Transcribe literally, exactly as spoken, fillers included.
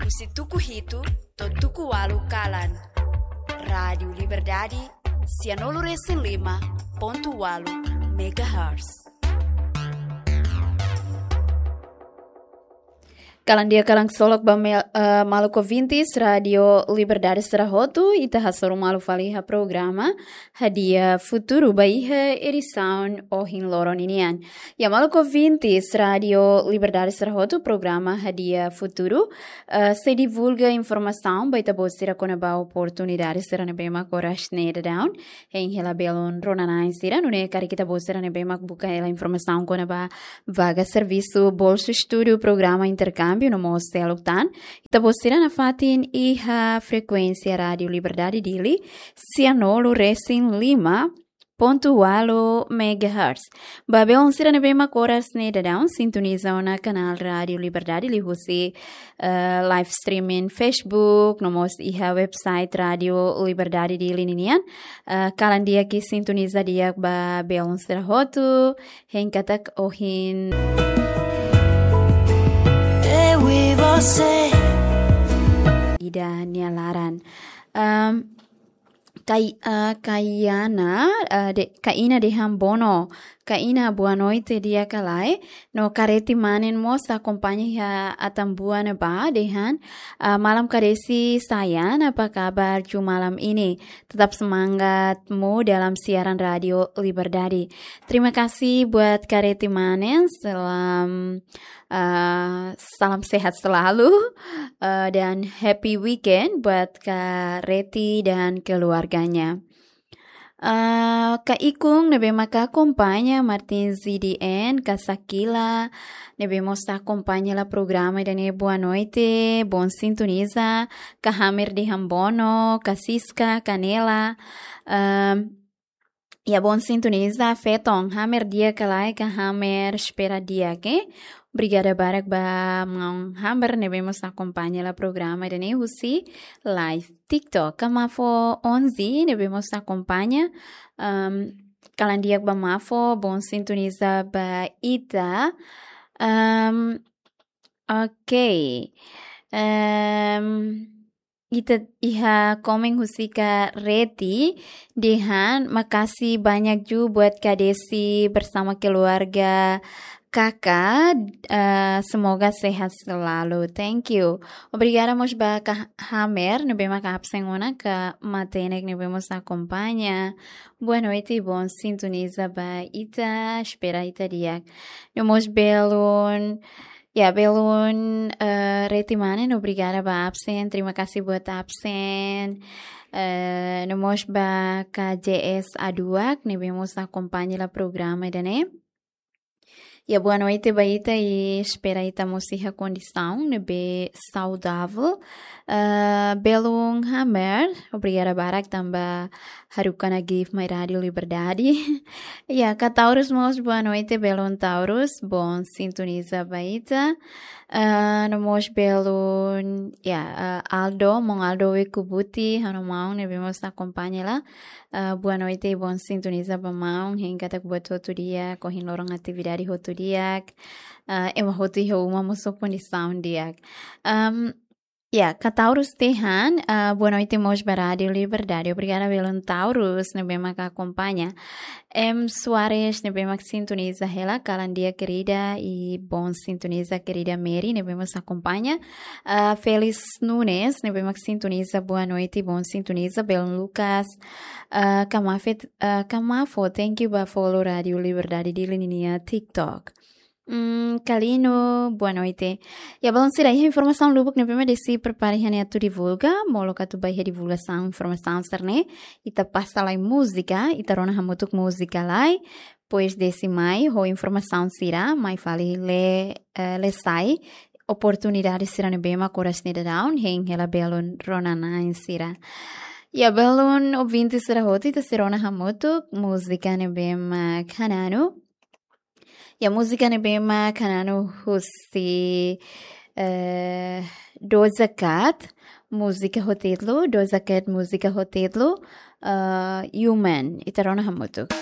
Husi tuku hitu to'o tuku ualu kalan. Rádiu Liberdade, sianulu resin lima pontu ualu megahertz. Kalan di'ak, kalan ksolok ba mel-, eh, maluk ouvintes Rádiu Liberdade sira hotu, ita hasoru malu fali iha programa Hadi'a Futuru ba iha edisaun ohin loron ninian. Ya, maluk ouvintes Rádiu Liberdade sira hotu, programa Hadi'a Futuru, eh, sei divulga informasaun ba ita-boot sira kona-ba oportunidade sira ne'ebé mak oras ne'e daudaun hein hela belun rona-na'in sira, nune'e karik ita-boot sira ne'ebé mak buka hela informasaun kona-ba vaga servisu, bolsa estudu, programa interkámbiu no mós seluk tan, ita-boot sira nafatin iha frekuénsia Rádiu Liberdade Dili, sianulu resin lima pontu ualu megahertz. Ba belun sira ne'ebé mak oras ne'e daudaun sintoniza ona kanál Rádiu Liberdade liuhusi, eh, live streaming Facebook, no mós iha website Rádiu Liberdade Dili ninian. Eh, kalan di'ak i sintoniza di'ak ba belun sira hotu, hein katak ohin Eu e você. Ida nia laran. Ehm, Kai-, eh, Kaiana, eh, de-, Kaina dehan bono. Kaina, boa noite di'ak ka lae. No Kareti Manen mós akompaña iha Atambua ne'ebá dehan, eh, malam Kadesi sayang, apa kabar ju malam ini? Tetap semangatmu dalam siaran Rádiu Liberdade. Terima kasih buat Kareti Manen. Salam, eh, salam sehat selalu, eh, dan happy weekend buat Kareti dan keluarganya. Eh, Ka Ikung ne'ebé maka akompaña, Martin Z D N, Ka Sakila ne'ebé mós akompaña hela programa ida-ne'e, boa noite, bom sintoniza, Ka Hamer dehan bono, Ka Siska, Ka Nela, ehm, ya, bom sintoniza, Feton, Hamer di'ak ka lae, Ka Hamer, espera di'ak, eh. Obrigada barak ba maun Hamer ne'ebé mós akompaña hela programa ida-ne'e husi live TikTok. Ka Mafo onze ne'ebé mós akompaña, ehm, kalan di'ak ba Mafo, bom sintoniza ba ita. Ehm, ok. Ehm, ita iha komen husi Kareti dehan, makasih banyak ju buat Kadesi bersama keluarga Kaka, eh, semoga sehat selalu. Thank you. Obrigada mós ba Ka Hamer ne'ebé maka absen ona, Ka Matenek ne'ebé mós akompaña. Boa noite, bom sintoniza ba ita, espera ita di'ak. No mós belun, ya, belun, eh, Reti Manen, obrigada ba absen, terima kasih buat absen. Eh, no mós ba Ka J S Aduak ne'ebé mós akompaña hela programa ida-ne'e. Ya, boa noite ba ita i espera ita mós iha kondisaun ne'ebé saudavel. Eh, belun Hamer, obrigada barak tanba haruka ona gift mai Rádiu Liberdade. Ya, Ka Taurus mós, boa noite, belun Taurus, bom sintoniza ba ita. Eh, no mós belun, ya, eh, Aldo, maun Aldo Wekubuti, ha'u-nia maun ne'ebé mós akompaña hela. Eh, boa noite, bom sintoniza ba maun, hein katak buat hotu di'ak, ohin loron atividade hotu di'ak, eh, ema hotu iha uma mós ho kondisaun di'ak. Ehm, ya, Ka Taurus dehan, eh, boa noite mós ba Rádiu Liberdade. Obrigada, belun Taurus ne'ebé maka akompaña. M Soares ne'ebé mak sintoniza hela, kalan di'ak kerida, i bom sintoniza kerida Mary ne'ebé mós akompaña. Ah, Félix Nunes ne'ebé mak sintoniza, boa noite, bom sintoniza, belun Lucas. Ah, Ka Mafo, ah, Ka Mafo, thank you ba follow Rádiu Liberdade Dili ninia TikTok. Hmm, Kalino, boa noite. Ya, belun sira, iha informasaun lubuk ne'ebé mak Desi prepara iha ne'e atu divulga, molok atu ba iha divulgasaun informasaun sira-ne'e, ita pasa lai múzika, ita rona hamutuk múzika lai, depois Desi mai ho informasaun sira, mai fali lee, eh, lee sai oportunidade sira ne'ebé mak oras ne'e daudaun hein hela belun rona-na'in sira. Ya, belun ouvinte sira hotu, ita sei rona hamutuk múzika ne'ebé mak Hananu. Ya, múzika ne'ebé mak Hananu husi, eh, Doja Cat, múzika ho títulu, Doja Cat, múzika ho títulu, eh, Human. Ita rona hamutuk.